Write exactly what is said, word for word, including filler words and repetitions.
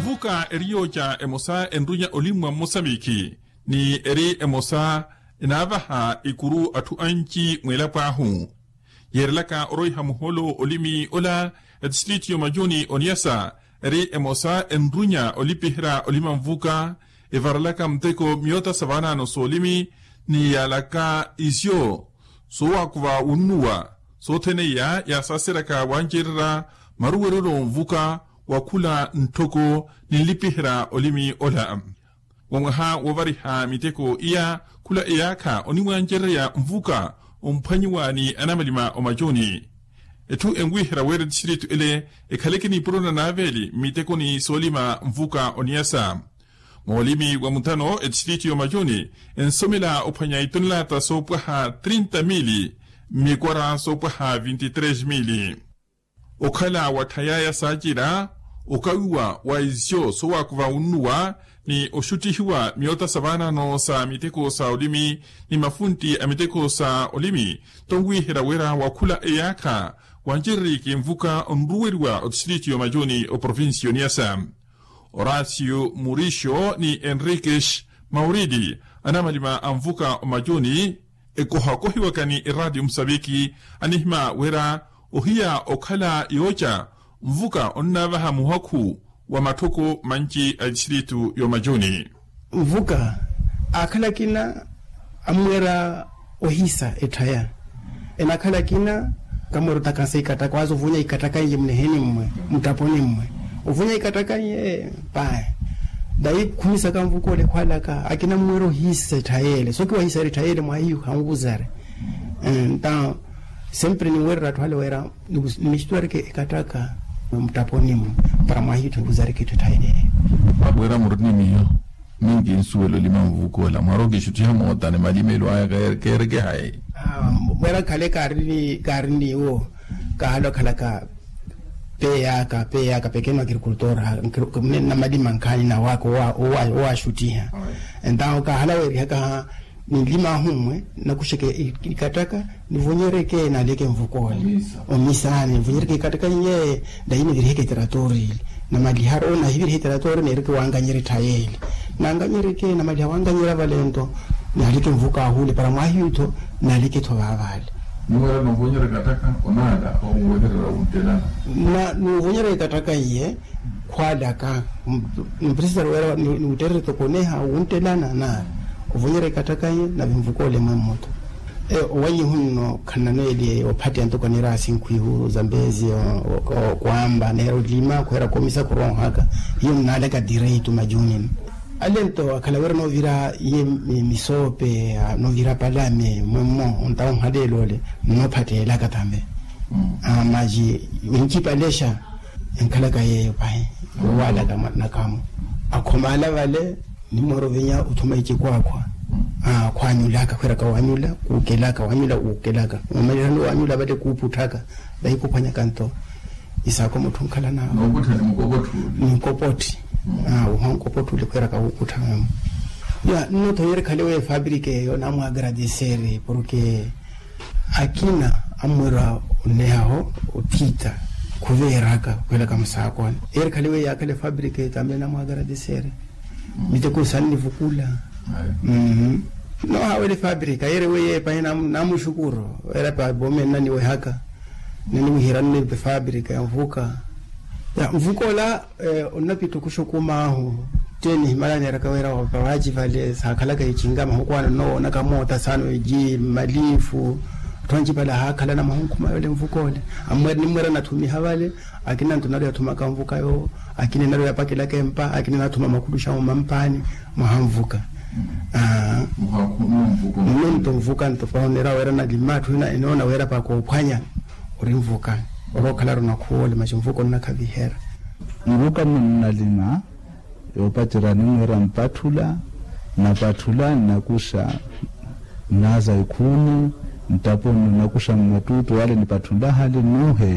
Mvuka eri yooca emosa enrunya olimmwa mmosamikhi ni eri emosa enaavaha ikuru atthu anci mweelapo ahu. Yeerelaka oroiha muhoolo olimi ola, etistritu y'omacuni oniyasa eri emosa enrunya olipiherya olima mvuka, evarelaka muteko myoota sa vaanaano s'olimi ni yaalaka isyo soowakuva wunnuwa. Sothene iya yaasaseryaka wancererya maruwerelo mvuka wa khula ntthoko ni nlipiherya olimi ola. Wa mwaha woovariha miteko iya khula eyaakha onimwancererya mvuka omphwanyiwa ni anamalima omacuni. Etthu enwiherya wira etistritu ele ekhaleke nipuro na naaveeli mmitekoni soolima mvuka oniyasa. Moolimi wa muthano etistritu y'omacuni ensomela ophwanya itonelata soopwaha trinta mili mmikwara soopwaha vinti tres mili. Okhala watthayaya saacira okawiwa wa isyo soowakuva wunnuwa ni oxuttihiwa myoota sa vaanaano sa miteko sa olimi ni mafuntti a miteko sa olimi, tonwiherya wira wa khula eyaakha wancereriki mvuka onruweriwa otistritu y'omacuni oprovincia oniyasa. Horacio murixo ni henriques mauridi anamalima a mvuka omacuni ekohakohiwaka ni eraatiyo musaviki anihima wira ohiya okhala yooca mvuka onnaavaha muhakhu wa matthoko manci a tistritu y'omacuni. Mvuka aakhala akina ammweera ohisa etthaya. Enakhala akina kamweera otakasa ikataka waaza ovunya ikataka iye muniheni mmwe muttaponi mmwe ovunya ikataka iye. Pahi dayi khumisaka mvuka ole khwalaka akina ammweera ohisa etthaya ele sookiwahisari etthaya ele mwahiyu khanvuzari. Nta sempre niwerera atthu ale wira nimixituwarike ekataka muttaponi mmwe para mwahiyu thanvuzarike etthu etthaya ele. Wira muri ni miyo minki nsuwela olima mvuka ola mwaroka exuttiha moota ni malimelo aya keerekehayi. Mwera khale kaari ni wo kahala okhalaka peeyaka peeyaka pekeno agrikultor. Namalima nkhaani nawaka owaxuttiha entawo kahala weerihaka ninlima ahu mmwe nakuxeke ikataka nivonyereke naleke mvukole omisani nivonyereke ikataka iye. Dayi niviriheke teratori ili namalihari onahivirihe teratori neereke wanganyere tthayeli nanganyereke namaliha wanganyera vale nto naleke mvuka ahule para mwahiyu tho naleke tho vavale. Niwera novonyereke attaka onala oweherera wuntelana. Nuvonyereke attaka iye khwalaka mpresitari wera niwutterere tokoneha wuntelana na ovonyereke attaka iye nave mvukole mwe mmoto. Owanyihu nno khananweeli ophatteya ntoko anira asinkhwihu zambezi okwamba neera olima khweera komisa khuroohaka hiyo nnaalaka direitu majunini. Ale nto akhala wira novira iye misoope novira palame mwemmo ontawo nhaleelo ole nnophatteelaka tambe. Maji wincipalexa enkhalaka yeeyo pahi owaalaka nakamu akhomala vale. Nimwera ovinya othuma icikwaakhwa khwanyulaka khwiraka wanyula kuukelaka wanyula kuukelaka omalirani wanyula vale kuuputthaka. Vahi kuphwanyaka nto isaako mutthu nkhala nawe ninkopotthi. Uhwa nkopotthi ule khwiraka wuukuttha memo. Ya nno tho yeri khale weyo efabirika eyo namwaagradiseri porke akina ammwerwa onnehaho otthita khuveeraka khwelaka musaakoni. Eri khale weyo yaakhala efabirika eyo tambe namwaagradiseri. Miteko sannivukula. Nohaawela efabirika yeri weyo epahi namuxukuru. Era pa boome nnaniwehaka nnaniwihiranne efabirika ya mvuka. Ya mvuka ola onnapittuku xukumaahu. Tteeni himala neeraka wira wapavaci vale saakhalaka ecinga mahuku ano nnowoonaka moota saano eji malifu. Atthu ancipale ahaakhalana mahunkhu mayo ole mvuka ole. Ammwera nimmwera nathumiha vale akina nto nari yathumaka mvuka yoowo. Akina nari yapakelaka empa akina nathuma makhuluxamu mampaani mwaha mvuka. Nno nto mvuka nto paho neera wira nalima atthu ina enoona wira pakoophwanya ori mvuka. Orookhala ronakhuwa ole maxi mvuka onnakhavihera. Mvuka munnalima yoopacerya nimwira mpatthula nnapatthula nnakuxa nnaaza ikhuuni nttaponi nnakuxa mmattuuttu wale nipatthula hale nnuuhe.